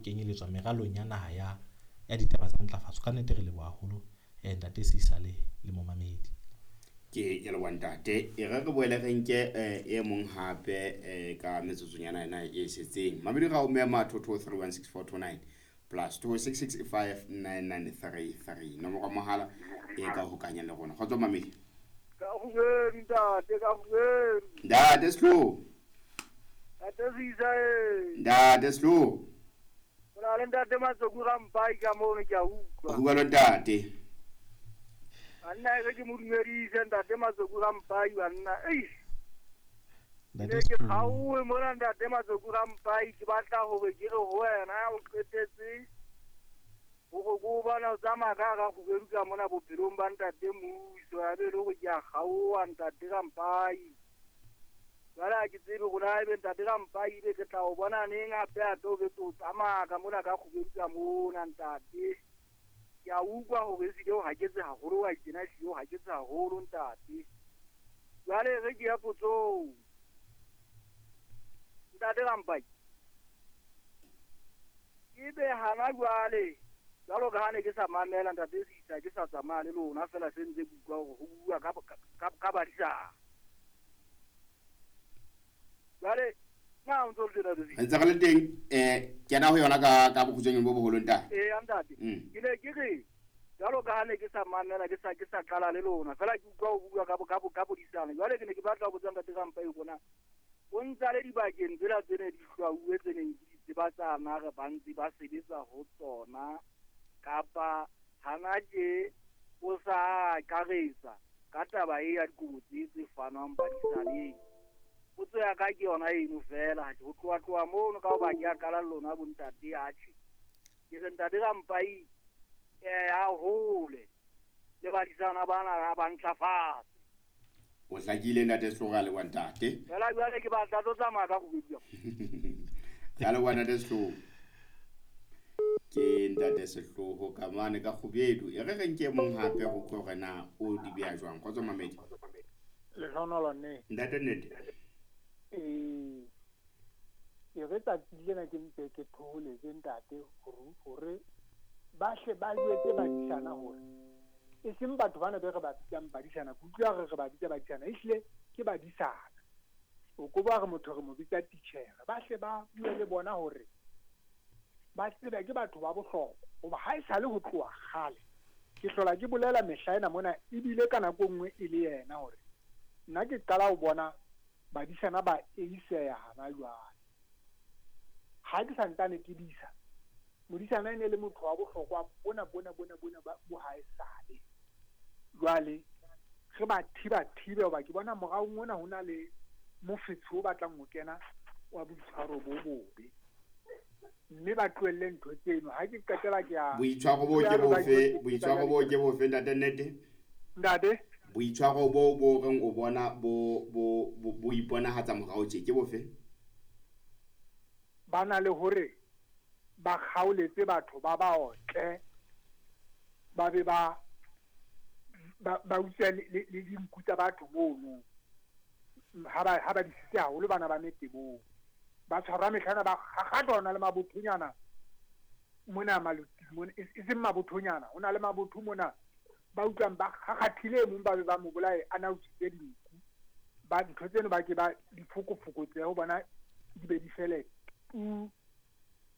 Kenyelletswa meralong ya naha ya ditaba tsa ntlafatso. Ka nnete re leboha haholo, ntate Sisa le momamedi. Ke leboha, ntate. E re re boele re nke e mong hape ka metsotsonyana ena e setseng. Mamedi, ra o mema 22316429 +26659933, nomoro ya mohala e ka hokanya le rona. Kgotso, mamedi. Ka kgubedu, ntate, ka kgubedu. Ntate Sehloho. Ntate Sisa e. Ntate Sehloho. O na le ntate Matsoku Rampai ka mono, ke a utlwa. Bua lo, ntate. Banna, e re ke mo dumedise ntate Matsoku Rampai, banna. Ei. Ntate Ne ke Sehloho. kgaowe mona, ntate Matsoku Rampai, ke batla hore ke re ho wena o qetetse hore ko o bona o tsamaya ka hara kgubedu ka mona bophelong ba ntate Muso, ya be e le hore ke a kgaoha, ntate Rampai. Jwale ha ke tsebe hore na ebe ntate Rampai ebe ke tla o bona neng hape hape o betse o tsamaya ka mona ka kgubedu ka mona, ntate. Ke a utlwa hore ehlile o haketse haholo, wa tjena, ehlile o haketse haholo, ntate. Jwale re ke ya potsong. Ntate Rampai. Ebe hana jwale jwalo ka ha ne ke sa mamela ntate Sisa, ke sa tsamaya le lona fela, se ntse ke utlwa hore ho bua ka badisana. Jwale na o ntso le teng, ntate Sisa? Re ntse re le teng. Kena ho yona ka bokgutshwanyane bo boholo, ntate. Ee, ntate. Ke ne ke re jwalo ka ha ne ke sa mamela, ke sa qala le lona fela, ke utlwa ho bua ka bodisana. Jwale ke ne ke batla ho botsa ntate Rampai hore na o ntsa le dibakeng tsela tse ne di hlwauwe, tse neng ke di tseba tsana re ba ntse ba sebetsa ho tsona, kapa hana tje o sa akaretsa ka taba e ya dikobo tse fanwang badisaneng. Potso ya ka ke yona eno fela. Ho tloha tloha mono ka hoba ke a qala le lona bontate, atjhe, ke re ntate Rampai a hole le badisana bana ba ntlafatse. O hlakile, ntate Sehloho, ra leboha, ntate. Fela jwale ke batla tlo tsamaya ka kgubedu. Ra leboha, ntate Sehloho. Ke ntate Sehloho ka mane ka kgubedu. E re re nke mong hape go utlwa hore na o di beha jwang. Kgotso, mamedi. Lehlohonolo ne. Ntate nnete. Ee, ke re tsatsi lena ke mpe ke thoholetse ntate hore ba hle ba jwetse badisana hore e seng batho bana be re ba bitsang badisana. Ke utlwa re ba bitsa badisana, ehlile ke badisana. O ko ba re motho re mo bitsa titjhere. Ba hle ba bue le bona hore ba tsebe ke batho ba bohlokwa, hoba ha e sale ho tloha kgale ke hlola ke bolela mehla ena mona, ebile ka nako e nngwe e le yena hore nna ke qala ho bona badisana ba eiseya hana jwale. Ha ke santsane ke disa, modisana e ne le motho wa bohlokwa bona bona bona bona bo ha e sale. Jwale re ba thiba thibe, hoba ke bona moraong ona ho na le mofetshe o batlang ho kena wa boitshwaro bo bobe, mme ba tlohelle ntho tseno. Ha ke qetela ke a Boitshwaro bo ke bofe? Boitshwaro bo ke bofe, ntate nnete? Ntate. Boitshwaro bo reng o bona bo iponahatsa morao tje ke bofe? Ba na le hore ba kgaoletse batho ba ba otle, ba be ba utswa le dinku tsa batho mono. Ha ba disitse haholo bana ba metebong, ba tshwarwa mehlana, ba kgakgatwa. Hona le mabothonyana mona maloting mona, e seng mabothonyana, ho na le mabotho mona ba utlwang ba kgakgathile e mong, ba be ba mo bolaye a na utswitse dinku. Ba ntho tseno ba ke ba di fokofokotse ho bona, di be di fele tu.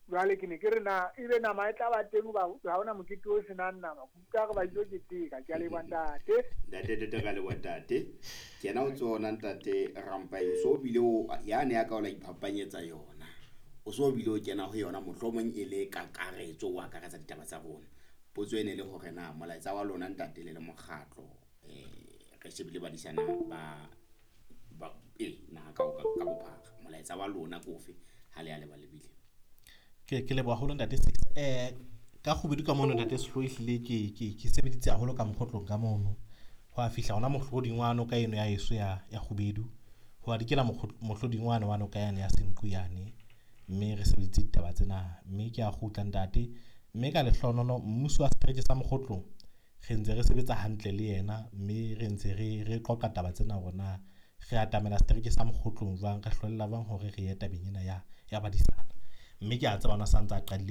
Jwale ke ne ke re na ebe nama e tla ba teng, hoba ha hona mokete o senang nama. Ke utlwa re ba ilo keteka. Ke a leboha, ntate. Ntate tete, ra leboha, ntate. Ke yena o tsona, ntate Rampai, o so bile o yane ya ka o la iphapanyetsa yona, o so bile o kena ho yona, mohlomong e le kakaretso, o akaretsa ditaba tsa rona. Potso e ne le hore na molaetsa wa lona, ntate, le le mokgatlo, re shebile badisana ba e naha ka bophara, molaetsa wa lona ke ofe ha le ya le ba lebile? Ke leboha haholo, ntate Six. Ka kgubedu ka mono, ntate Sehloho, ehlile ke sebeditse haholo ka mokgotlong ka mono. Ho a fihla hona mohloding wa noka eno ya heso ya kgubedu, ho a dikela mohloding wane wa noka yane ya Senqu yane, mme re sebeditse ditaba tsena, mme ke a kgutla, ntate. Mme ka lehlohonolo mmuso wa setereke sa Mokgotlong re ntse re sebetsa hantle le yena, mme re ntse re qoqa taba tsena hore na re atamela setereke sa Mokgotlong jwang, re hlwella jwang hore re ye tabeng ena ya badisana. Mme ke a tseba ona sa ntse a qadile.